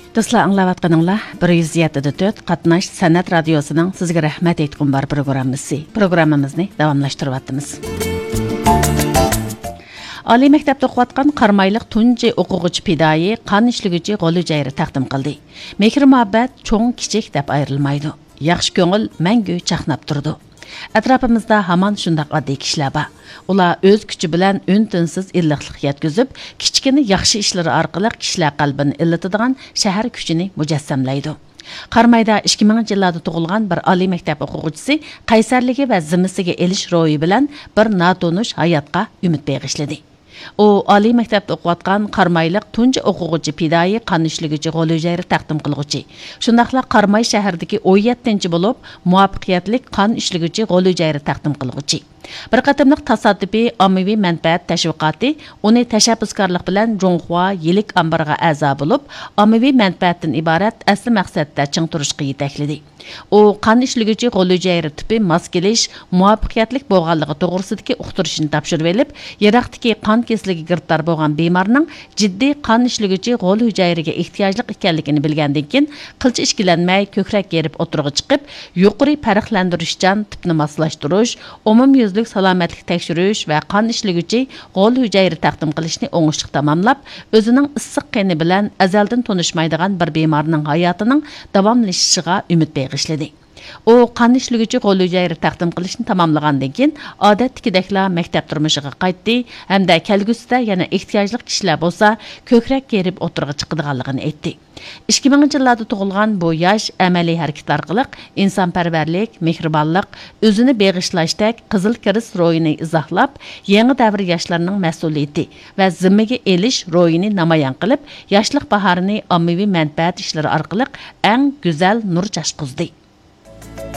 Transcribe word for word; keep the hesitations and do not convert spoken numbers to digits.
دوستلار، ئاڭلاۋاتقىنىڭلار بىر يۈز يەتتە دە تۆت قاتناش سەنئەت رادىيوسىنىڭ سىزگە رەھمەت ئېيتقۇم بار پروگراممىسى. پروگراممىمىزنى داۋاملاشتۇرۇۋاتىمىز. ئالىي مەكتەپتە ئوقۇۋاتقان قارامايلىق تۇنجى ئوقۇغۇچى پىدائىي قان ئىشلىگۈچى غول ھۈجەيرە تەقدىم قىلدى. مېھىر-مۇھەببەت چوڭ-كىچىك دەپ ئايرىلمايدۇ. ياخشى كۆڭۈل مەڭگۈ چاقناپ تۇرىدۇ. ئەتراپىمىزدا ھامان شۇنداق ئاددىي كىشىلەر بار. ئۇلار ئۆز كۈچى بىلەن ئۈن-تىنسىز ئىللىقلىق يەتكۈزۈپ، كىچىككىنە ياخشى ئىشلىرى ئارقىلىق كىشىلەر قەلبىنى ئىللىتىدىغان شەھەر كۈچىنى مۇجەسسەملەيدۇ. قارامايدا ئىككى مىڭىنچى يىللاردا تۇغۇلغان بىر ئالىي مەكتەپ ئوقۇغۇچىسى قەيسەرلىكى ۋە زىممىسىگە ئېلىش روھى بىلەن بىر ناتونۇش ھاياتقا ئۈمىد بېغىشلىدى. ئۇ ئالىي مەكتەپتە ئوقۇۋاتقان قارامايلىق تۇنجى ئوقۇغۇچى پىدائىي قان ئىشلىگۈچى غول ھۈجەيرە تەقدىم قىلغۇچى. شۇنداقلا قاراماي شەھىرىدىكى ئون يەتتىنچى بولۇپ، مۇۋەپپەقىيەتلىك قان ئىشلىگۈچى غول ھۈجەيرە تەقدىم قىلغۇچى. بىر قېتىملىق تاسادىپىي ئاممىۋى مەنپەئەت تەشۋىقاتى ئۇنى تەشەببۇسكارلىق بىلەن جۇڭخۇا يىلىك ئامبىرىغا ئەزا بولۇپ، ئاممىۋى مەنپەئەتتىن ئىبارەت ئەسلى مەقسەتتە چىڭ تۇرۇشقا يېتەكلىدى. ئۇ قان ئىشلىگۈچى غول ھۈجەيرە تىپى ماس كېلىش، مۇۋەپپەقىيەتلىك بولغانلىقى توغرىسىدىكى ئۇقتۇرۇشنى تاپشۇرۇۋېلىپ، يىراقتىكى قان كېسىلىگە گىرىپتار بولغان بىمارنىڭ جىددىي قان ئىشلىگۈچى غول ھۈجەيرىگە ئېھتىياجلىق ئىكەنلىكىنى بىلگەندىن كېيىن، قىلچە ئىككىلەنمەي كۆكرەك كېرىپ ئوتتۇرىغا چىقىپ، يۇقىرى پەرقلەندۈرۈشچان تىپنى ماسلاشتۇرۇش، ئومۇميۈزلۈك سالامەتلىك تەكشۈرۈش ۋە قان ئىشلىگۈچى غول ھۈجەيرە تەقدىم قىلىشنى ئوڭۇشلۇق تاماملاپ، ئۆزىنىڭ ئىسسىق قېنى بىلەن ئەزەلدىن تونۇشمايدىغان بىر بىمارنىڭ ھاياتىنىڭ داۋاملىشىشىغا ئۈمىد بېغىشلىدى. ئۇ قان ئىشلىگۈچى غول ھۈجەيرە تەقدىم قىلىشنى تاماملىغاندىن كېيىن، ئ,ئادەتتىكىدەكلا مەكتەپ تۇرمۇشىغا قايتتى ھەمدە كەلگۈسىدە يەنە ئېھتىياجلىق كىشىلەر بولسا، كۆكرەك كېرىپ ئوتتۇرىغا چىقىدىغانلىقىنى ئېيتتى. ئىككى مىڭىنچى يىللاردا تۇغۇلغان بۇ ياش ئەمەلىي ھەرىكىتى ئارقىلىق ئىنسانپەرۋەرلىك، مېھرىبانلىق، ئۆزىنى بېغىشلاشتەك قىزىل كىرېست روھىنى ئىزاھلاپ، يېڭى دەۋر ياشلىرىنىڭ مەسئۇلىيىتى ۋە زىممىگە ئېلىش روھىنى نامايان قىلىپ، ياشلىق باھارىنى ئاممىۋى مەنپەئەت ئىشلىرى ئارقىلىق ئەڭ گۈزەل نۇر چاچقۇزدى.